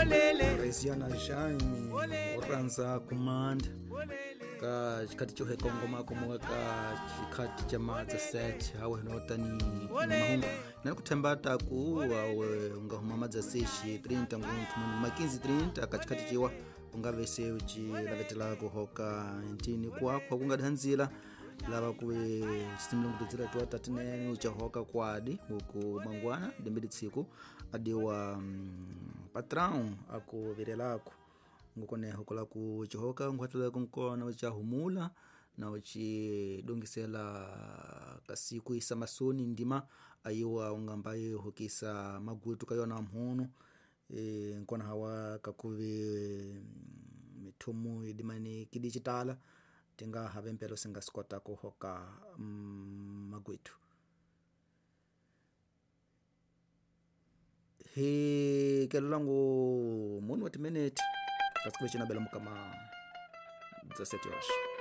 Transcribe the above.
Resiana Jaime o rhandza kumanda ka xikhati xo hekongoma komoka ka xikhati xa madza set hawe no tani mahungu na ku themba ta ku awe u nga huma madza sexi 30 ngunthu munhu makinzi 30 ka xikhati ciwa u nga ve se u ci lavetela ku hoka ntini kuakhwa ku nga dandzila lava ku ve xisimilungu tidzila tiwa tatinene u cahoka kwadi huku mangwana dembe litshiku adiwa patrão aku virelaku ngukone hokola ku cihoka nkhwatela kunkona u ca humula na u ci dongisela kasiku isa masoni ndima ayiwa ungamba yi hokisa magutu ka yona mhunu e, nkona hawa kakuve mithumu idimani kidijitala tinga have mpelo singa sikota ku hoka magwitu hi kelolangu munu wa timiniti kasi kuve cinabela mukama 17 horas.